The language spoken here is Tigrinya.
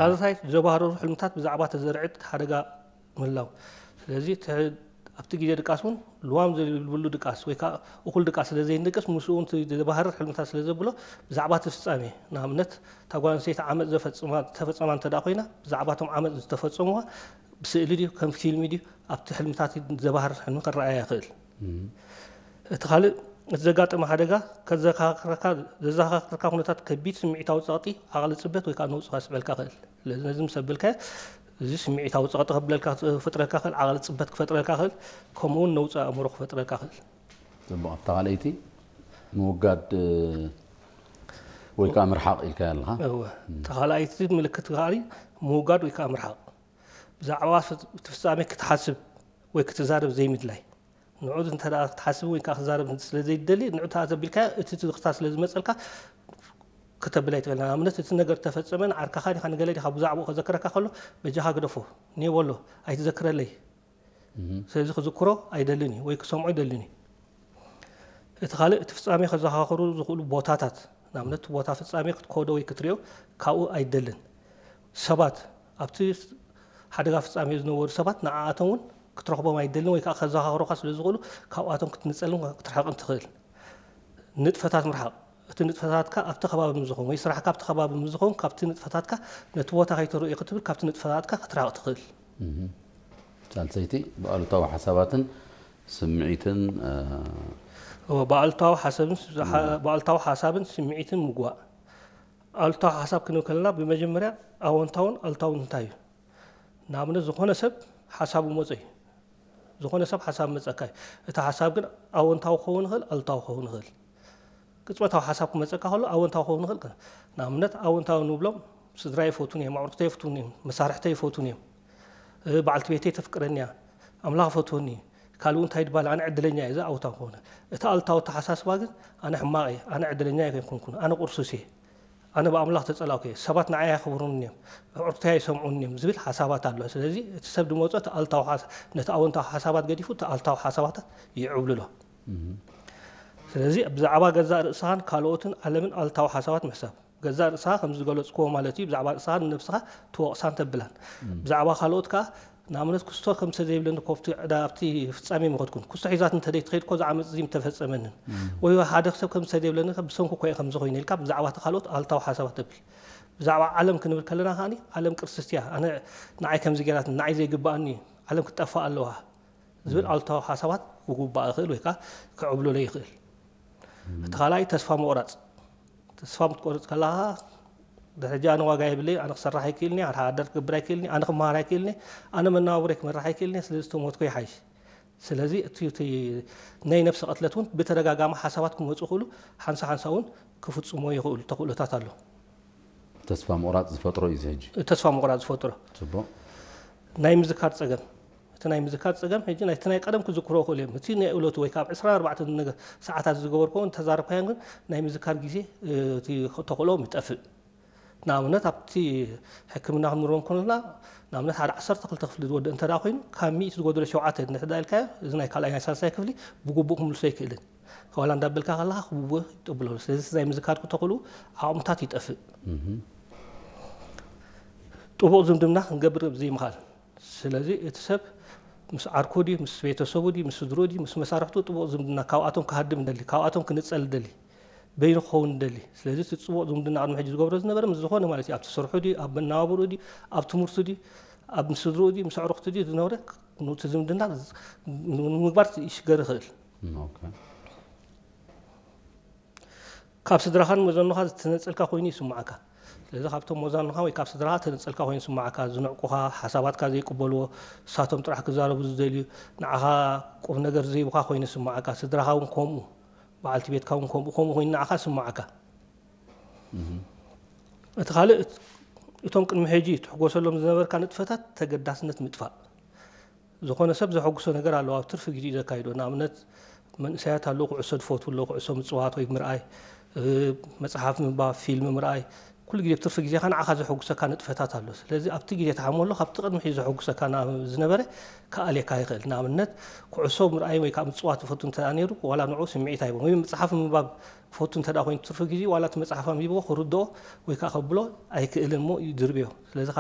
ሳልሳይ፣ ዘባህረሩ ሕልምታት ብዛዕባ ተዘርዕት ሓደጋ ምህላው። ስለዚ እቲ፣ ኣብቲ ግዜ ድቃስ እውን ልዋም ዘይብሉ ድቃስ ወይ ከዓ እኹል ድቃስ ስለ ዘይንድቅስ፣ ምስኡ እውን እቲ ዘባህርር ሕልምታት ስለ ዘብሎ፣ ብዛዕባ እቲ ፍጻሜ፣ ንኣብነት፣ እታ ጓል ኣንስተይቲ ዓመጽ ዘፈጽማ፣ ተፈጸማ እንተ ደኣ ኮይና፣ ብዛዕባ እቶም ዓመጽ ዝተፈጸሙዋ ብስእሊ ድዩ፣ ከም ፊልም ድዩ፣ ኣብቲ ሕልምታት ዘባህርር ሕልሚ ክረኣያ ይኽእል። እቲ ካልእ፣ እቲ ዘጋጠመ ሓደጋ ከዘኻኽረካ፣ ዘዘኻኽረካ ኩነታት ከቢድ ስምዒታዊ ጸቕጢ፣ ዓቕሊ ጽበት ወይ ከዓ ነውጺ ከስዕበልካ ይኽእል። ስለዚ ነዚ ምስ ኣበልካዮ፣ እዚ ስምዒታዊ ጸቕጢ ከብለልካ፣ ክፈጥረልካ ይኽእል፣ ዓቕሊ ጽበት ክፈጥረልካ ይኽእል፣ ከምኡ እውን ነውጺ ኣእምሮ ክፈጥረልካ ይኽእል። ጽቡቕ። ኣብታ ካልኣይቲ ምውጋድ፣ እ፣ ወይ ከዓ ምርሓቕ ኢልካዮ ኣለኻ። እወ። እታ ካልኣይቲ ምልክት ከኣ ምውጋድ ወይ ከዓ ምርሓቕ። ብዛዕባ ፍጽ-፣ እቲ ፍጻሜ ክትሓስብ ወይ ክትዛረብ ዘይምድላይ። ንዑ እንተ ደኣ ክትሓስብ ወይ ከዓ ክትዛረብ ስለ ዘይትደሊ፣ ንዑ ተኣ ተቢልካዮ፣ እቲ ትዝኽርታ ስለ ዝመጸልካ፣ ከተብል ኣይትኽእልን። ንኣብነት፣ እቲ ነገር ተፈጸመ፣ ንዓርካኻ ዲኻ፣ ንገለ ዲኻ ብዛዕባኡ ከዘክረካ ከሎ፣ በጃኻ ግደፎ፣ ኔው በሎ፣ ኣይትዘክረለይ። እህ። ስለዚ ክዝክሮ ኣይደልን እዩ ወይ ክሰምዖ ኣይደልን እዩ። እቲ ካልእ፣ እቲ ፍጻሜ ከዘኻኽሩ ዝኽእሉ ቦታታት፣ ንኣብነት፣ እቲ ቦታ ፍጻሜ ክትከዶ ወይ ክትሪኦ ካብኡ ኣይደልን። ሰባት፣ ኣብቲ ሓደጋ ፍጻሜ ዝነበሩ ሰባት፣ ንዓኣቶም እውን ክትረኽቦም ኣይደልን ወይ ከዓ ከዘኻኽሩኻ ስለ ዝኽእሉ፣ ካብኣቶም ክትንጸልን ክትርሕቕን ትኽእል። ንጥፈታት ምርሓቕ። እቲ ንጥፈታትካ ኣብቲ ከባቢ ምስ ዝኾን ወይ ስራሕካ ኣብቲ ከባቢ ምስ ዝኾን፣ ካብቲ ንጥፈታትካ ነቲ ቦታ ከይተርእዮ ክትብል፣ ካብቲ ንጥፈታትካ ክትርሕቕ ትኽእል። እህ። ሳልሰይቲ፣ ብኣሉታዊ ሓሳባትን ስምዒትን፣ እ፣ እወ፣ ብኣሉታዊ ሓሳብን ስ-፣ ሓ-፣ ብኣሉታዊ ሓሳብን ስምዒትን ምጉባእ። ኣሉታዊ ሓሳብ ክንብል ከለና፣ ብመጀመርያ ኣወንታውን ኣሉታውን እንታይ እዩ? ንኣብነት፣ ዝኾነ ሰብ ሓሳቡ መጾ እዩ። ዝኾነ ሰብ ሓሳብ መጸካ እዩ። እቲ ሓሳብ ግን ኣወንታዊ ክኸውን ይኽእል፣ ኣሉታዊ ክኸውን ይኽእል። ቅጽበታዊ ሓሳብ ክመጸካ ከሎ ኣወንታዊ ክኸውን ይኽእል። ንኣብነት፣ ኣወንታዊ ንብሎም፣ ስድራይ ይፈትዉኒ እዮም፣ ኣዕሩኽተይ ይፈትዉኒ እዮም፣ መሳርሕተይ ይፈትዉኒ እዮም፣ እ፣ በዓልቲ ቤተይ ተፍቅረኒ እያ፣ ኣምላኽ ይፈትወኒ እዩ፣ ካልኡ እንታይ ድባል፣ ኣነ ዕድለኛ እየ፣ እዚ ኣወንታዊ ክኸውን። እቲ ኣሉታዊ ኣተሓሳስባ ግን፣ ኣነ ሕማቕ እየ፣ ኣነ ዕድለኛ ኣይኮንኩን፣ ኣነ ቁርሱስ እየ፣ ኣነ ብኣምላኽ ተጸላእኩ እየ፣ ሰባት ንዓይ ኣየኽብሩኒ እዮም፣ ኣዕሩኽተይ ኣይሰምዑኒ እዮም ዝብል ሓሳባት ኣሎ። ስለዚ እቲ ሰብ ዝመጾ እቲ ኣሉታዊ ሓሳ-፣ ነቲ ኣወንታዊ ሓሳባት ገዲፉ እቲ ኣሉታዊ ሓሳባታት ይዕብልሎ። እህ። ስለዚ ብዛዕባ ገዛእ ርእስኻን ካልኦትን ዓለምን ኣሉታዊ ሓሳባት ምሕሳብ። ገዛእ ርእስኻ ከም ዝገለጽክዎ ማለት እዩ፣ ብዛዕባ ርእስኻ ንነብስኻ ትወቕሳን ተብላን። እም። ብዛዕባ ካልኦት ከኣ፣ ንኣብነት፣ ክስቶ ከም ሰብ ዘይብለኒ እኮ ኣብቲ ዕዳ-፣ ኣብቲ ፍጻሜ ምኸድኩን። ክስቶ ሒዛት እንተ ዘይትኸይድ እኮ፣ እዚ ዓመጽ እዚ ምተፈጸመንን። እም። ወይ ሓደ ሰብ ከም ሰብ ዘይብለኒ፣ ብሰንኩ እኮ እየ ከምዚ ኮይነ ኢልካ፣ ብዛዕባ እቲ ካልኦት ኣሉታዊ ሓሳባት ተብል። ብዛዕባ ዓለም ክንብል ከለና ከኣኒ፣ ዓለም ቅርስቲ እያ። ኣነ፣ ንዓይ ከምዚ ገይራትኒ፣ ንዓይ ዘይግብኣኒ፣ ዓለም ክትጠፍእ ኣለዋ ዝብል እም። ኣሉታዊ ሓሳባት ክጉባእ ይኽእል ወይ ከኣ ክዕብልሎ ይኽእል። እም። እቲ ካልኣይ ተስፋ ምቑራጽ። ተስፋ ምትቆርጽ ከለኻ፣ "ድሕጂ ኣነ ዋጋ የብለይ፣ ኣነ ክሰርሕ ኣይክእልኒ፣ ኣነ ሃደር ክገብር ኣይክእልኒ፣ ኣነ ክመሃር ኣይክእልኒ፣ ኣነ መነባብሮይ ክመርሕ ኣይክእልኒ፣ ስለዚ ተሞትኩ ይሓይሽ." ስለዚ እቲ፣ እቲ ናይ ነብሲ ቅትለት እውን ብተደጋጋሚ ሓሳባት ክመጹ ይኽእሉ፣ ሓንሳ ሓንሳ እውን ክፍጽሞ ይኽእሉ ተኽእሎታት ኣሎ። ተስፋ ምቑራጽ ዝፈጥሮ እዩ እዚ ሕጂ። ተስፋ ምቑራጽ ዝፈጥሮ። ጽቡቕ። ናይ ምዝካር ጸገም። እቲ ናይ ምዝካር ጸገም ሕጂ ናይቲ ናይ ቀደም ክዝክሮ ይኽእሉ እዮም። እቲ ናይ እለቱ ወይ ካብ ዕስራን ኣርባዕተን ነገ-፣ ሰዓታት ዝገበርክዎ እንተዛረብካዮም ግን ናይ ምዝካር ግዜ፣ እ፣ እቲ ተኽእሎ ይጠፍእ። ንኣብነት ኣብቲ ሕክምና ክንብሎ እንከለና፣ ንኣብነት ሓደ ዓሰርተ ክልተ ክፍሊ ዝወድእ እንተ ደኣ ኮይኑ፣ ካብ ሚእቲ ዝጎደሎ ሸውዓተ እንድሕር ደኣ ኢልካዮ፣ እዚ ናይ ካልኣይ ናይ ሳልሳይ ክፍሊ ብግቡእ ክምልሶ ኣይክእልን። ዋላ እንዳበልካ ከለኻ ክብቦ ይጥብሎ። ስለዚ እቲ ናይ ምዝካር ተኽእሎ ዓቕምታት ይጠፍእ። እህ። ጥቡቕ ዝምድና ክንገብር ዘይምኽኣል። ስለዚ እቲ ሰብ ምስ ዓርኩ ድዩ፣ ምስ ቤተሰቡ ድዩ፣ ምስ ስድርኡ ድዩ፣ ምስ መሳርሕቱ ጥቡቕ ዝምድና ካብኣቶም ክሃድም እንደሊ፣ ካብኣቶም ክንጸል እንደሊ፣ በይኑ ክኸውን እንደሊ። ስለዚ እቲ ጽቡቕ ዝምድና ቅድሚ ሕጂ ዝገብሮ ዝነበረ ምስ ዝኾነ ማለት እዩ፣ ኣብቲ ስርሑ ድዩ፣ ኣብ መነባብርኡ ድዩ፣ ኣብ ትምህርቱ ድዩ፣ ኣብ ምስ ስድርኡ ድዩ፣ ምስ ኣዕሩኽቱ ድዩ ዝነበረ፣ ኑቲ ዝምድና ዝ-፣ ንምግባር ይሽገር ይኽእል። ኦኬ። ካብ ስድራኻን መዘኖኻ ዝተነጸልካ ኮይኑ ይስምዓካ። ስለዚ ካብቶም መዛኖኻ ወይ ካብ ስድራኻ ዝተነጸልካ ኮይኑ ይስምዓካ፣ ዝንዕቁኻ፣ ሓሳባትካ ዘይቅበልዎ፣ ንሳቶም ጥራሕ ክዛረቡ ዝደልዩ፣ ንዓኻ ቁም ነገር ዘይብኻ ኮይኑ ይስምዓካ፣ ስድራኻ እውን ከምኡ፣ በዓልቲ ቤትካ እውን ከምኡ፣ ከምኡ ኮይኑ ንዓኻ ይስምዓካ። እህ። እቲ ካልእ፣ እት-፣ እቶም ቅድሚ ሕጂ ትሕጎሰሎም ዝነበርካ ንጥፈታት ተገዳስነት ምጥፋእ። ዝኾነ ሰብ ዘሐጉሶ ነገር ኣለዎ፣ ኣብ ትርፊ ግዜኡ ዘካይዶ። ንኣብነት፣ መንእሰያት ኣለዉ፣ ኩዕሶ ዝፈትዉ ኣለዉ፣ ኩዕሶ ምጽዋት ወይ ምርኣይ፣ እ፣ መጽሓፍ ምንባብ፣ ፊልም ምርኣይ፣ ኩሉ ግዜ ኣብ ትርፊ ግዜኻ ንዓኻ ዘሐጉሰካ ንጥፈታት ኣሎ። ስለዚ ኣብቲ ግዜ ትሓሞ ኣሎ ካብቲ ቅድሚ ሕዚ ዘሐጉሰካ ዝነበረ ክኣልየካ ይኽእል። ንኣብነት ኩዕሶ ምርኣይ ወይ ከዓ ምፅዋት ዝፈቱ እንተ ነይሩ ዋላ ንዑ ስምዒት ኣይቦን ወይ መፅሓፍ ምንባብ ፈቱ እንተ ኮይኑ ትርፊ ግዜ ዋላ እቲ መፅሓፍ ኣንቢብዎ ክርድኦ ወይ ከዓ ከብሎ ኣይክእልን እሞ ይድርብዮ። ስለዚ